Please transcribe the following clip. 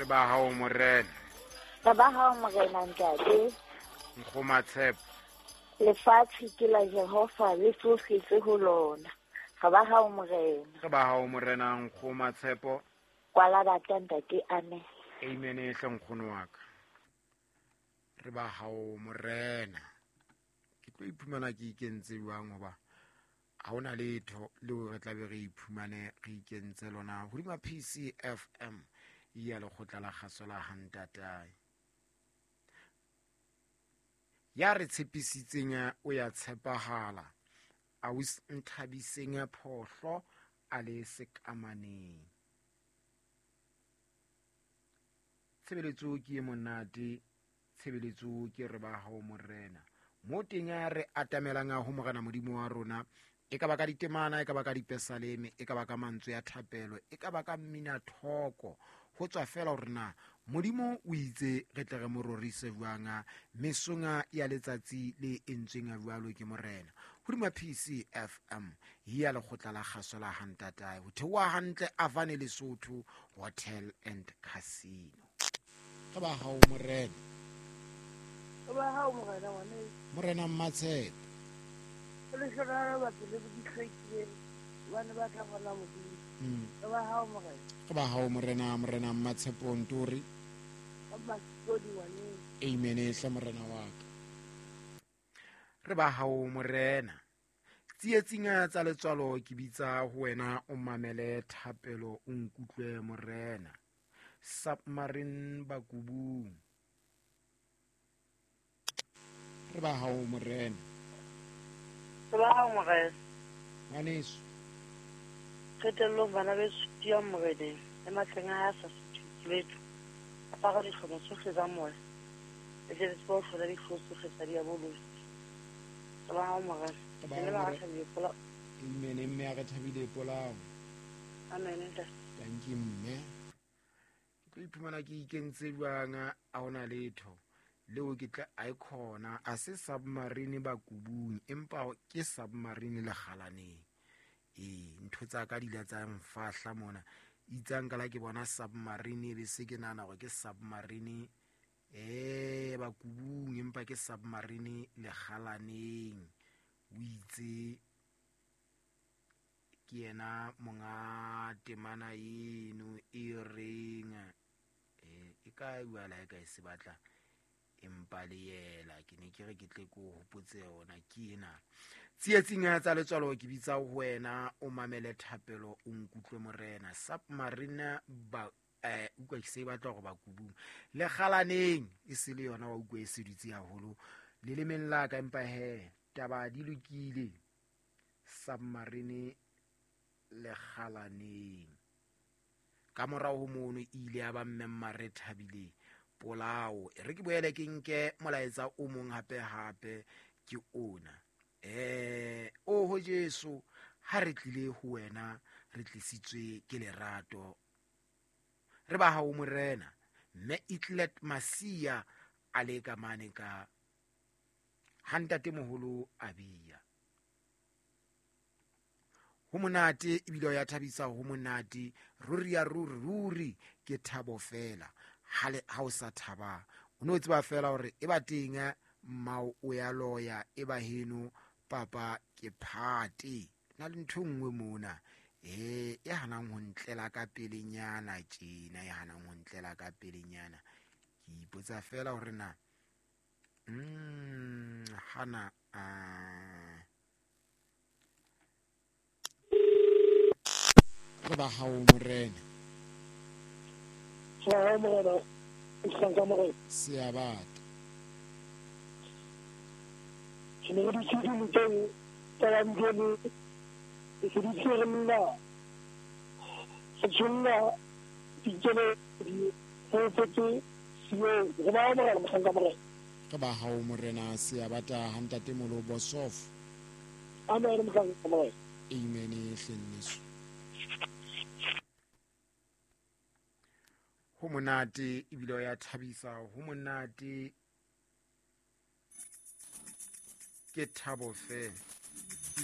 Re ba hao morena. Re ba hao morena ntate. Nkgoma Tshepo. Lefatshe ke la Jehova le tsohle tse ho lona. Re ba hao morena. Re ba hao morena Nkgoma Tshepo. Kwala batla ntate, amen. Amen hle nkgono wa ka. Re ba hao morena. Ke tlo iphumana ke ikentse jwang hoba ha hona letho leo re tlabe re iphumane re ikentse lona hodima PCFM ya lekgotla la kgaso la hantatae. Ya re tshepisitseng o ya tshepahala. A o nthabiseng phohlo a le sekamaneng. Tshebeletso ke e monate, tshebeletso ke re ba hao morena. Mo teng re atamelang ho morena Modimo wa rona, e ka ba ka ditemana, e ka ba ka dipesaleme, e ka ba ka mantswe ya thapelo, e ka ba ka mmina thoko. Ho tswa fela hore na Modimo o itse re tle re mo rorise jwang mesong ya letsatsi le entsweng jwalo ke morena. Hodima PCFM ya lekgotla la kgaso la hantatae. Ho theoha hantle Avane Lesotho Hotel and Casino. Re ba hao morena. Re ba hao morena ngwaneso. Morena Mmatshepo. Le hlokahalo batho le di hlwekileng bane ba tla bona Modimo. Re ba hao morena. Re ba hao morena, morena Mmatshepo Ntori. Amen hle morena wa ka. Re ba hao morena. Tsietsing tsa letswalo ke bitsa ho wena o mamele thapelo o nkutlwe morena. Submarine Bakubung. Re ba hao morena. Re ba hao morena. Ngwaneso. Qetellong bana beso tiyang moreneng le matleng a hae a sa suthise letho. Apara dihlomo tsohle tsa moya. Le tle le tsebe ho hlola dihlooho tsohle tsa diabolosi. Re ba hao morena. Re ba Le hao ba morena. thabile polao. Amen, mme a re thabile polao. Amen, ntate. Thank you, mme. Ke tlo iphumana ke ikentse jwang a hona letho. Leo ke tla a e khona a se submarine Bakubung empa ke submarine lekgalaneng. Ntho tsa ka di la tsa mfahla mona. Itsang ka la ke bona submarine be se ke nahana hore ke submarine Bakubung empa ke submarine lekgalaneng. O itse ke yena monga temana eno e reng e ka bua la e ka e se batla empa le yela ke ne ke re ke tle ke o hopotse yona ke ena. Tsietsing tsa letswalo ke bitsa ho wena o mamele thapelo o nkutlwe morena. Submarine ba utlwa ke se batla hore Bakubung lekgalaneng e se le yona wa utlwa e se dutse haholo lelemeng la ka empa he taba di lokile. Submarine lekgalaneng. Ka morao ho mono e ile ya ba mme Mmare Thabile polao. E re ke boele ke nke molaetsa o mong hape hape ke ona. Oho Jesu, ha re tlile ho wena re tlisitswe ke lerato. Re ba hao morena. Mme Itlet Masia a le ka mane ka ha ntatemoholo a bia. Ho monate ebile ho ya thabisa, ho monate ruri ya ruri ruri ke thabo fela. Ha o sa thaba o no tseba fela hore e ba teng mmao o ya loya e ba heno papa ke phate. Na le ntho nngwe mona e hanang ho ntlela ka pelenyana tjena, e hanang ho ntlela ka pelenyana. Ke ipotsa fela hore na hana re ba hao morena. Re morena, hlanka morena. Seabata. Ke ne ke dutse dinokeng tsa Bamdoni, ke se dutse re nna, re tsholla dikeledi, re opetse Sione. Re ba hao morena, mohlanka morena. Re ba hao morena, Seabata ha ntatemolo Bosof. Amen, mohlanka morena. Amen, hle nneso. Ho monate ebile o ya thabisa, ho monate ke thabo fela.